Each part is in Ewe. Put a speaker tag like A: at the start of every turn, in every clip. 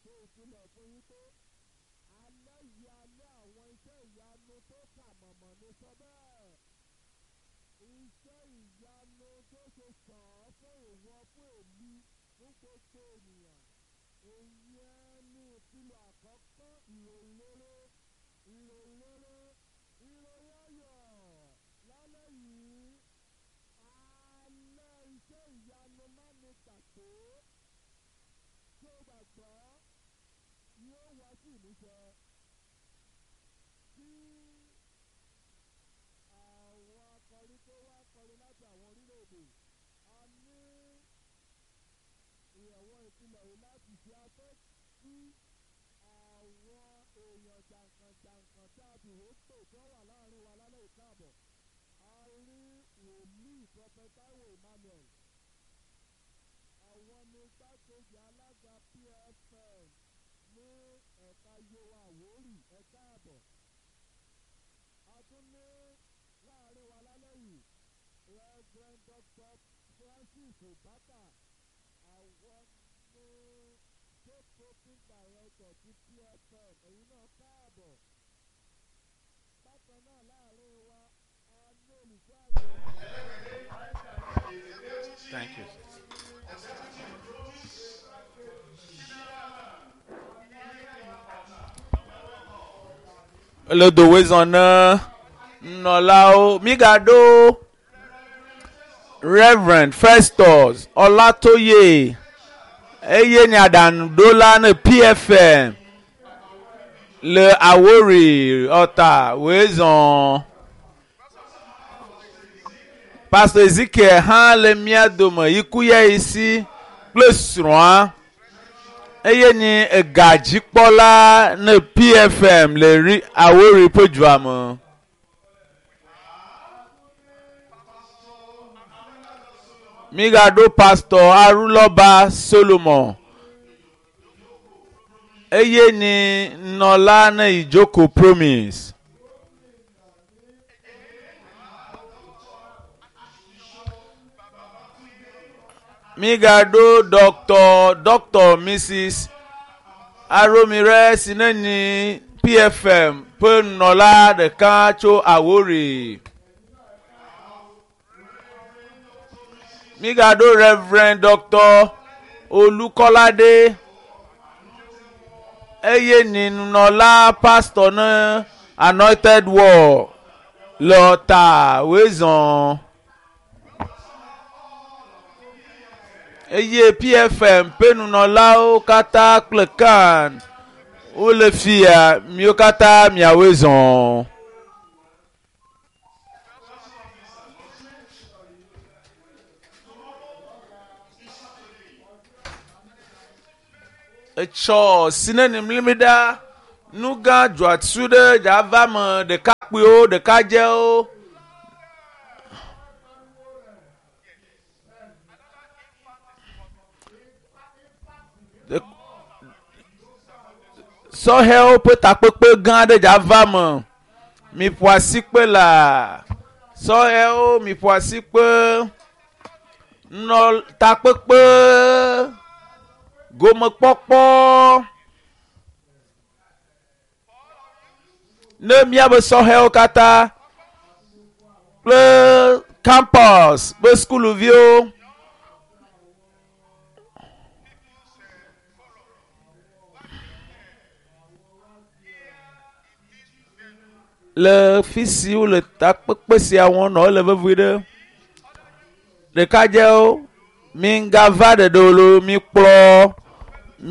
A: Ṣe ìfilọ̀ fún yín pé alẹ́ yìí alẹ́ àwọn iṣẹ́ ìyanu tó kà mọ̀mọ́ ní sọ bẹ́ẹ̀. Iṣẹ́ ìyanu tó ṣe sàn án fún ìwọ fún èmi fún gbogbo ènìyàn. Ìyẹn ni ìfilọ̀ àkọ́kọ́ ìròyìn rere ìròyìn rere ìròyìn ayọ̀ lálẹ́ yìí alẹ́ iṣẹ́ ìyanu má ní gbàgbé tó gbàgbọ́ yóò wá sí ìmúṣẹ kí àwọn akọrin tó wá kọrin láti àwọn orílẹ̀-èdè a ní ìyẹ̀wò ìpìlẹ̀ yìí láti ṣe afẹ́ kí àwọn èèyàn jàǹkànjàǹkàn tá a fi wò pè tó wà láàrin wa lálẹ́ ìkáàbọ̀ a rí wòlíì Prophet Taiwo Emmanuel àwọn ní igbákejì alága PFN ní ẹ̀ka Yewa Àwórì ẹ̀ka àbọ̀ a tún ní láàrin wa lálẹ́ yìí Reverend Dr. Francis Obaka àwọn ní state protein director ti PFN ẹ̀yin náà káàbọ̀ bákan náà láàrin wa a ní olùṣọ́ àgùntàn.
B: Thank you. Le dowezɔna nɔlawo migaɖo Reverend Festus Ọlátóyè eye nye aɖaŋuɖola ne PFN le Àwórì Ọ̀tà wòezɔ. Pastor Ezekiel hã le mía dome yikuyɛyisi kple srɔ̃a eye nye egadzikpɔla ne PFM le ri Àwórì ƒe dua me. Migaɖo Pastor Arulɔba Solomon eye nye nɔla ne Ijoko Promise. Migaɖo Dr. Dr. Mrs. Aromire Sineni PFM ƒe nɔla ɖeka tso Àwórì. Migaɖo Reverend Dr. Olúkọ́ládé eye ni nunɔla pastor ne Anointed War le Ọ̀tà wezɔn. Eye PFM ƒe nunɔlawo katã kple CAN wole fia miwo katã miawoe zɔn. Etsɔ sinenimlimi ɖa nu gã dzɔatsu ɖe dzava me ɖekakpuiwo ɖekadzewo. Sɔhɛwo ƒe takpekpe gã aɖe dzava me. Miƒo asikpe laa. Sɔhɛwo miƒo asikpe. Nɔ takpekpe gomekpɔkpɔ ne míabe sɔhɛwo katã kple campus ƒe sukuviwo. Le fi si wole takpekpe sia wɔm nɔ ele vevie ɖe. Ɖekadzewo migava ɖeɖe o loo mikplɔ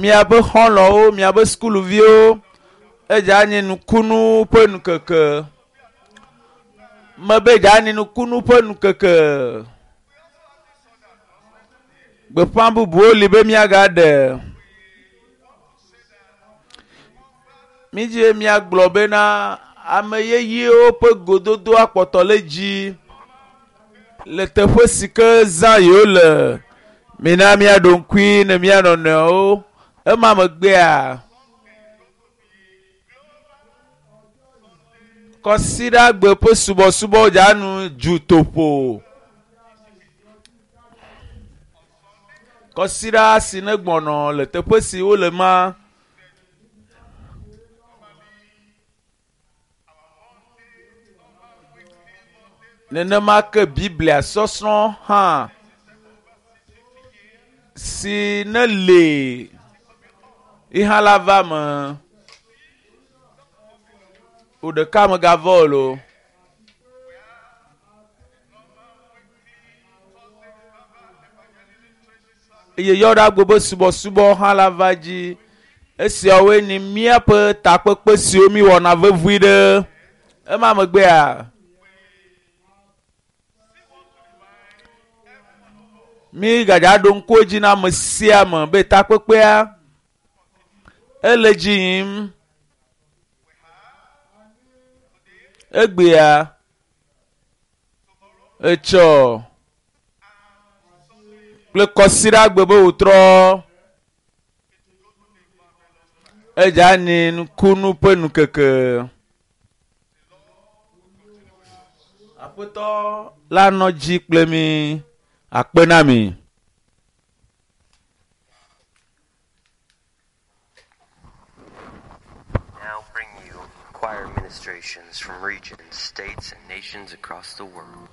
B: miaƒe xɔlɔ̃wo miaƒe sukuviwo edze anyi nukunu ƒe nukeke. Mebe dze anyi nukunu ƒe nukeke. Gbeƒã bubuwo li be míagaɖe. Mídzi be míagblɔ bena ame yeyewo ƒe gododo akpɔtɔ le dzi le teƒe si ke zã yewo le. Mina míaɖo ŋkui ne mía nɔnɔewo. Ema megbea kɔsiɖagbe ƒe subɔsubɔ dzanu dzutoƒo. Kɔsiɖa si ne gbɔnɔ le teƒe si wole ma. Nenema ke Biblia sɔsrɔ̃ hã si ne le ihã la va me. Wò ɖeka megavɔ o loo. Eye yɔɖagbe be subɔsubɔ hã la va dzi. Esiawoe nye míaƒe takpekpe siwo míwɔna vevi ɖe. Ema megbea, mí gadza ɖo ŋku edzi na ame sia ame be takpekpea ele dzi yim. Egbea, etsɔ kple kɔsiɖagbe be wòtrɔ edza nyi nukunu ƒe nukeke. Aƒetɔ la nɔ dzi kple mi akpe na mi.
C: Now bring you choir ministrations from regions, states, and nations across the world.